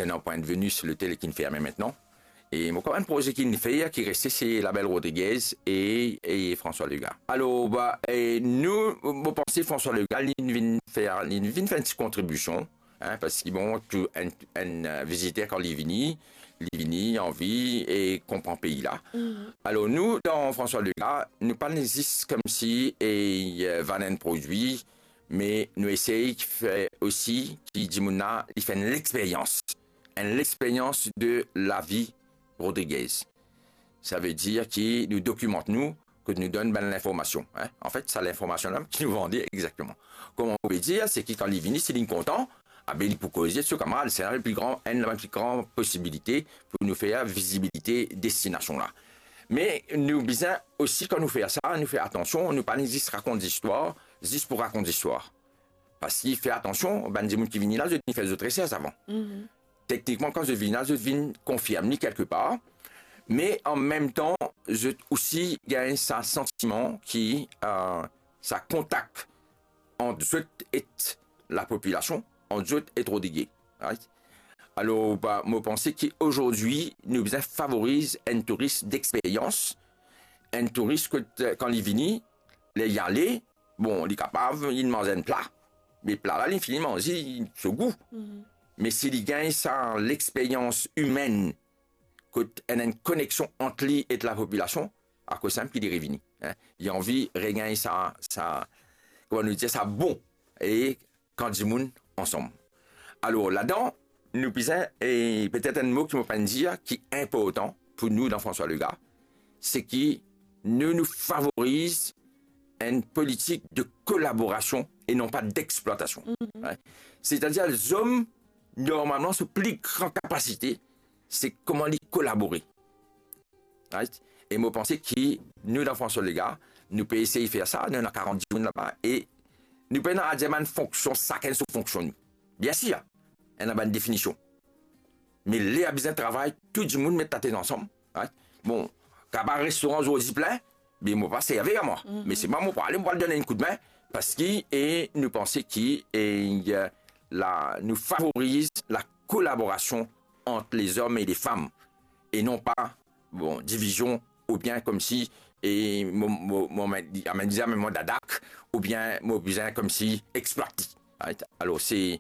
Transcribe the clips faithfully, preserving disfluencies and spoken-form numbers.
Ena Pointe Vénus, lotel ki'nn ferme aster. E mo konn enn proze ki'nn fer, ki reste, se Labelle Rodriguez e, e François Legaye. Alor, ba, e nou, mo panse François Legaye, li vinn fer, li vinn fer enn ti kontribision, hein, parski bon, tou enn, enn, eh, viziter kan li vini, li vini anvi e konpran pei la. Alor nou, dan François Legaye, nou pa zis koumsi e, eh, vann enn prodwi, me nou esey fer osi ki dimoun la, li fer enn lexperyans, enn lexperyans de lavi Rodriguez. Savedir ki nou dokimant nou, kot nou donn bann linformasion, hein. Anfet, sa linformasion la ki nou vande exakteman. Kouma nou pe dir, se ki kan li vini, si li kontan, abe li pou koze so kamarad, se enn pli gran, enn pli gran posibilite pou nou fer vizibilite destinasion la. Me nou bizin osi, kan nou fer sa, nou fer atansion, nou pa zis rakont zistwar, zis pou rakont zistwar. Parski fer atansion, bann dimoun ki vini la, zot inn fer zot resers avan. Teknikman, kan zot vinn la, zot vinn konfirm li kelkepar, me anmemtan, zot osi gagn sa santiman ki, eh, sa kontak ant zot ek lapopilasion, ant zot ek Rodriguez, right? Alor, ba, mo panse ki azordi, nou bizin favoriz enn touris dexperyans, enn touris kot, eh, kan li vini, ler li ale, bon, li kapav, li manz enn pla. Me pla la, li fini manze, so gou. Me si li gagn sa lexperyans imenn, kot ena enn koneksion ant li ek lapopilasion, akoz sa mem ki li revini, hein. Li anvi regagn sa, sa, kouma nou dir sa, bon, e kan dimoun ansam. Alor, ladan, nou bizin, e petet enn mo ki mo pa'nn dir, ki inportan pou nou dan François Legaye, se ki nou, nou favoriz enn politik de kolaborasion e non pa dexplwatasion. Right? Setadir, zom, normalman, so pli gran kapasite, se kouma li kolabore. Right? E mo panse ki nou, dan François Legaye, nou pe esey fer sa, nou ena karant dimoun laba, e nou pena dir bann fonksion, sakenn so fonksion nou. Biensir, ena bann definision. Me ler bizin travay, tou dimoun met latet ansam, right? Bon, kaba restoran zordi plin, me mo pa serve a mwa. Me se mwa, mo pou ale, mo pou al donn enn koudmin, parski, e nou panse ki, e, eh, la, nou favoriz la kolaborasion ant lezom e lefam, e non pa, bon, divizion, oubien koumsi, e mo, mo, mo, mo, amenn, amenn, amenn mwa dadak, oubien mo bizin koumsi explwat li. Right? Alor, se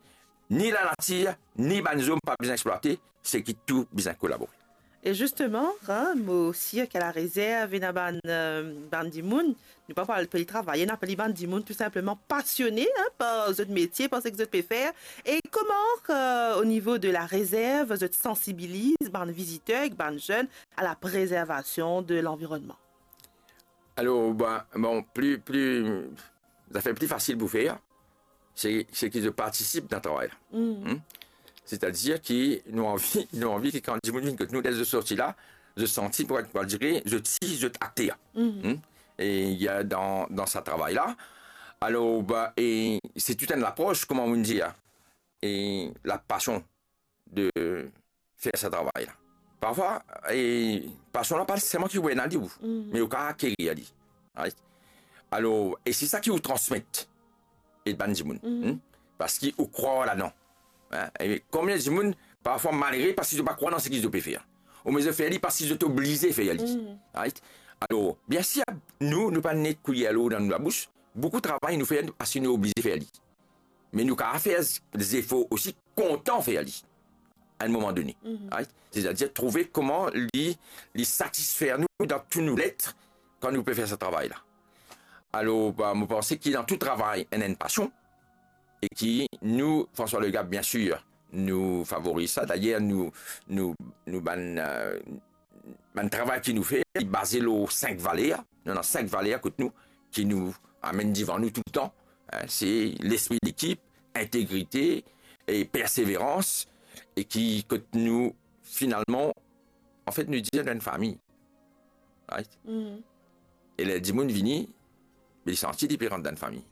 ni lanatir, ni bann zom pa bizin explwate, se ki tou bizin kolabore. E zisteman, hein, mo sir ki Larezerv ena bann, eh, bann dimoun, nou pa pou apel travayer, nou apel li bann dimoun tou sinpleman pasione, hein, par zot metie, par seki zot pe fer. E kouma, eh, o nivo de Larezerv, zot sansibiliz bann viziter ek bann zenn a laprezervasion de lanvironnman? Alor, ba, bon, pli, pli, zafer pli fasil pou fer, se, se ki zot partisip dan travay la. Hmm? Setadir ki nou anvi, nou anvi ki kan dimoun vinn kot nou, ler zot sorti la, zot santi, pou, pou dire, zot si, zot akter. Hmm? E, eh, dan, dan sa travay la. Alor, ba, e se tou enn lapros, kouma nou dir, e lapasion de fer sa travay la. Parfwa, e, pasion la pa selman ki ou ena li ou, me ou kapav akerir li. Right? Alor, e se sa ki ou transmet e bann dimoun, hmm? Parski ou krwar ladan. Hein? E konbien dimoun, parfwa malere, parski zot pa krwar dan seki zot pe fer. Oubien zot fer li parski zot oblize fer li. Right? Alor, biensir, nou, nou pa nek kouyer lor dan nou labous. Boukou travay nou fer parski nou oblize fer li. Me nou kapav fer zefor osi kontan fer li, a enn moman done. Right? Setadir trouve kouma li, li satisfer nou dan tou nou let kan nou pe fer sa travay la. Alor, ba, mo panse ki dan tou travay, ena enn pasion, e ki nou, François Legaye, biensir, nou favoriz sa. Dayer, nou, nou, nou bann, eh, bann travay ki nou fer, li baze lor sink valer. Nou ena sink valer kot nou, ki nou amenn divan nou toultan. Hein, se lespri lekip, integrite e perseverans, e ki kot nou, finalman, anfet, nou dir nou enn fami. Right? E ler dimoun vini, me li santi li pe rant dan enn fami.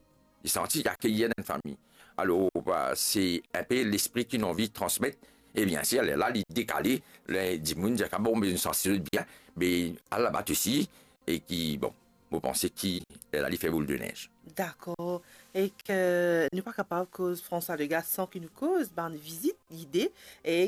Li santi li akeyi dan enn fami. Alor, ba, se enpe lespri ki nou anvi transmet. E biensir, lerla, li dekale, ler dimoun dir, "Ah bon, me nou santi nou bien, me al laba osi," e ki, bon, mo panse ki lerla li fer boul de nez. Dakor. Ek nou pa kapav koz François Legaye san ki nou koz bann vizit gide, e